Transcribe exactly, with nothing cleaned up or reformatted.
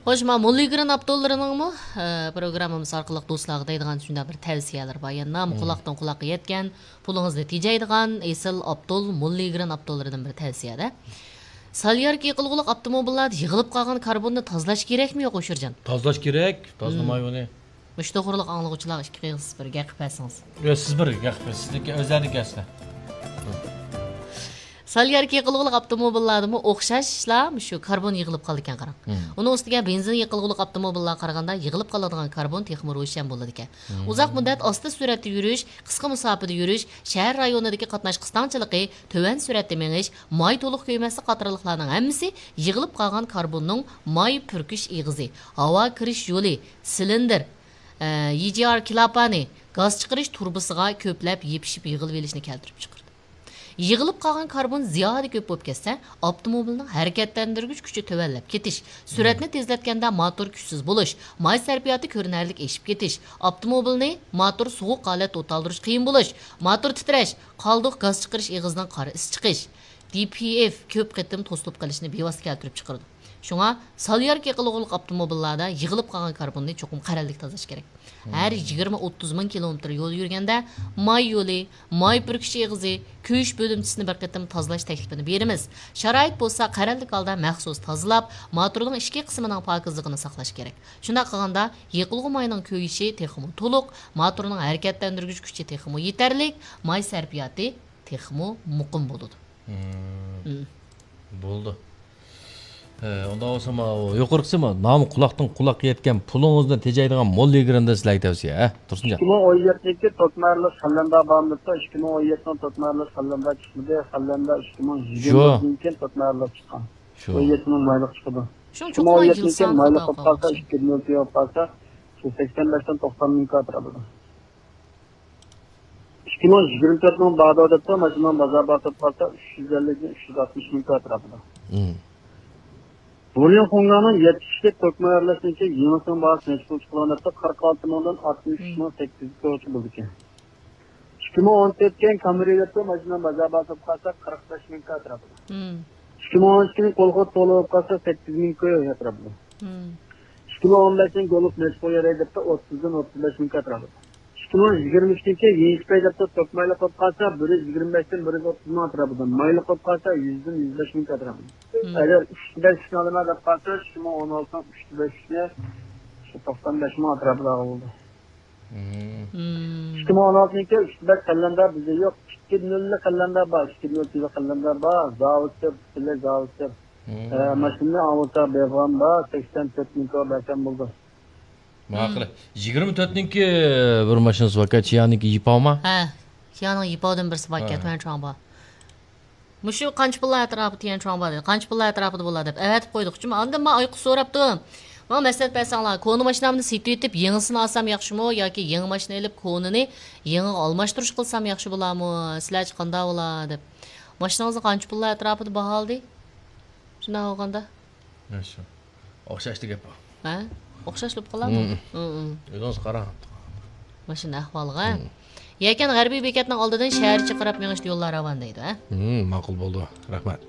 خوش، ما موللىگرېن ئاپتوللىرىنىڭمۇ، ئە، پروگراممىمىز ئارقىلىق دوستلارغا دەيدىغان شۇنداق بىر تەۋسىيەلىرى بار. يەنە نامى قۇلاقتىن قۇلاققا يەتكەن، پۇلىڭىزنى تېجەيدىغان ئېسىل ئاپتول، موللىگرېن ئاپتوللىرىدىن بىر تەۋسىيەدە. سالياركا يېقىلغۇلۇق ئاپتوموبىللاردا يىغىلىپ قالغان كاربوننى تازىلاش كېرەكمۇ يوق، ئوشۇرجان؟ تازىلاش كېرەك، تازىلىماي ئۇنى. مۇشۇ توغرىلىق ئاڭلىغۇچىلار ئىككى قىز بىر گەپ قىلىپ بەرسىڭىز. ياق، سىز بىر گەپ قىلىڭ، سىزنىڭكى ئۆزلەرنىڭ گەپسىنى. سالياركا يېقىلغۇلۇق ئاپتوموبىللاردىمۇ ئوخشاشلا مۇشۇ كاربون يىغىلىپ قالىدىكەن، قاراڭ. مم. ئۇنىڭ ئۈستىگە بېنزىن يېقىلغۇلۇق ئاپتوموبىللارغا قارىغاندا يىغىلىپ قالىدىغان كاربون تېخىمۇ روشەن بولىدىكەن. مم. ئۇزاق مۇددەت ئاستا سۈرئەتتە يۈرۈش، قىسقا مۇساپىدە يۈرۈش، شەھەر رايونىدىكى قاتناش قىستاڭچىلىقى، تۆۋەن سۈرئەتتە مېڭىش، ماي تولۇق كۆيمەسلىك قاتارلىقلارنىڭ ھەممىسى يىغىلىپ قالغان كاربوننىڭ ماي پۈركۈش ئېغىزى، ھاۋا كىرىش يولى، سىلىندىر، ئە، يى جى ئار كىلاپانى، گاز چىقىرىش تۇرۇبىسىغا كۆپلەپ يېپىشىپ يىغىلىۋېلىشنى كەلتۈرۈپ چىقىرىدۇ. يىغىلىپ قالغان كاربون زىيادە كۆپ بولۇپ كەتسە، ئاپتوموبىلنىڭ ھەرىكەتلەندۈرگۈچ كۈچى تۆۋەنلەپ كېتىش، سۈرئەتنى تېزلەتكەندە موتور كۈچسىز بولۇش، ماي سەرپىياتى كۆرۈنەرلىك ئېشىپ كېتىش، ئاپتوموبىلنى موتور سوغۇق ھالەتتە ئوتالدۇرۇش قىيىن بولۇش، موتور تىترەش، قالدۇق گاز چىقىرىش ئېغىزىنىڭ قارا ئىس چىقىش، دى پى ئېف كۆپ قېتىم توسۇلۇپ قېلىشنى بىۋاسىتە كەلتۈرۈپ چىقىرىدۇ. شۇڭا سالياركا يېقىلغۇلۇق ئاپتوموبىللاردا يىغىلىپ قالغان كاربوننى چوقۇم قەرەللىك تازىلاش كېرەك. ھەر يىگىرمە ئوتتۇز مىڭ كىلومېتىر يول يۈرگەندە، ماي يولى، ماي پۈركۈش ئېغىزى، كۆيۈش بۆلۈمچىسىنى بىر قېتىم تازىلاش تەكلىپىنى بېرىمىز. شارائىت بولسا، قەرەللىك ھالدا مەخسۇس تازىلاپ، موتورنىڭ ئىچكى قىسمىنىڭ پاكىزلىقىنى ساقلاش كېرەك. شۇنداق قىلغاندا، يېقىلغۇ ماينىڭ كۆيۈشى تېخىمۇ تولۇق، موتورنىڭ ھەرىكەتلەندۈرگۈچ كۈچى تېخىمۇ يېتەرلىك، ماي سەرپىياتى تېخىمۇ مۇقىم بولىدۇ. مم. بولدى. ھە، ئۇنداق بولسا، ماۋۇ يۇقىرىقىسى ما، نامى قۇلاقتىن قۇلاققا يەتكەن، پۇلىڭىزنى تېجەيدىغان موللىگرېندىن سىلەرگە تەۋسىيە، ھە، تۇرسۇنجان؟ ئىككى مىڭ ئون يەتتىنچى توتمارلىق خەللەندە بارمىدى، ئىككى مىڭ ئون يەتتىنىڭ توتمارلىق خەللەندە چىقمىدى، خەللەندە ئىككى مىڭ يىگىرمە شۇ. يىلدىن كېيىن توتمارلىق چىققان. شۇ. ئون يەتتىنىڭ مايلىق چىقىدۇ. شۇ، ئىككى مىڭ ئون يەتتىنىڭ مايلىق بولۇپ قالسا، ئىككى يۈز مىڭ كىلو بولۇپ قالسا، شۇ سەكسەن بەشتىن توقسان مىڭ كاتىرا بولىدۇ. ئىككى مىڭ يىگىرمە تۆتنىڭ بارىدۇ دەپتۇ، ماشىنىنىڭ بازار باھاسى بولۇپ قالسا، ئۈچ يۈز ئەللىكتىن ئۈچ يۈز ئاتمىش مىڭ كاتىرا بولىدۇ. مم. بۇريۇن خۇڭگاڭنىڭ يەتتە كىشىلىك تۆكمە ئارىلاشتىكى يېڭىسىنىڭ باھاسى نەچچە پۇل چىقىدۇ دەپتۇ، قىرىق ئالتە مىڭدىن ئاتمىش ئۈچ مىڭ سەككىز يۈز كوچا بولىدىكەن. ئىككى مىڭ ئون تۆتكەن كامرى دەپتۇ، ماشىنىنىڭ بازار باھاسى بولۇپ قالسا، قىرىق بەش مىڭ كاتىرا بولىدۇ. مم. ئىككى مىڭ ئون ئىككىنىڭ كولخوز تولا بولۇپ قالسا، سەككىز مىڭ كاتىرا بولىدۇ. مم. ئىككى مىڭ ئون بەشنىڭ گولف نەچچە پۇل يارايدۇ دەپتۇ، ئوتتۇزدىن ئوتتۇز بەش مىڭ كاتىرا بولىدۇ. ئىككى مىڭ يىگىرمە ئۈچتىن كېيىن يېڭىش پەي دەپتۇ، توك مايلىق بولۇپ قالسا، بىر يۈز يىگىرمە بەشتىن بىر يۈز ئوتتۇز مىڭ ئەتراپىدا، مايلىق بولۇپ قالسا، يۈزدىن يۈز بەش مىڭ ئەتراپىدا. مم. ئەگەر ئۈچ بەش ئىشنى ئالىمەن دەپ قالسا، ئىككى مىڭ ئون ئالتىنىڭ ئۈچ بەش ئىشنى شۇ توقسان بەش مىڭ ئەتراپىدا بولىدۇ. مم. مم. ئىككى مىڭ ئون ئالتىنىڭكى ئۈچ بەش قەلەندەر بىزدە يوق. ئىككى نۆللىك قەلەندەر بار، ئىككى نۆل قەلەندەر بار، زاۋۇت كۆپ، پۈتۈنلەي زاۋۇت كۆپ. مم. ئە، ماشىنىنى ئاۋۇتا بېرىدىغان بار، سەكسەن تۆت مىڭ كاتىرا بەرسەم بولىدۇ. ماقۇل. يىگىرمە تۆتنىڭكى بىر ماشىنىسى باركەن، چيانىڭكى يىپاۋما؟ ھە، چيانىڭ يىپاۋدىن بىرسى باركەن، ھە. تۈەن چۇاڭبا. مۇشۇ قانچە پۇللار ئەتراپىدا تيەن چۇاڭبا دېدى. قانچە پۇللار ئەتراپىدا بولا دەپ ئەۋەتىپ قويدۇق. ئاندىن ماڭا ئايقۇش سوراپتۇ. ماڭا مەسلىھەت بەرسەڭلار، كونا ماشىنامنى سېتىۋېتىپ، يېڭىسىنى ئالسام ياخشىمۇ ياكى يېڭى ماشىنا ئېلىپ، كونىنى يېڭىغا ئالماشتۇرۇش قىلسام ياخشى بولارمۇ؟ سىلەرچە قانداق بولا دەپ. ماشىنىڭىزنى قانچە پۇللار ئەتراپىدا باھالىدى؟ شۇنداق بولغاندا. ياخشى. ئوخشاشلا گەپ بۇ. ھە؟ ئوخشاش بولۇپ قالامۇ؟ مم. مم، مم. ئۆزىڭىز قاراڭ. ماشىنا ئەھۋالىغا. مم. يەكەن غەربىي بېكەتنىڭ ئالدىدىن شەھەرچە قاراپ مېڭىشتا يوللار راۋان دەيدۇ، ھە؟ مم، ماقۇل بولدى. رەھمەت.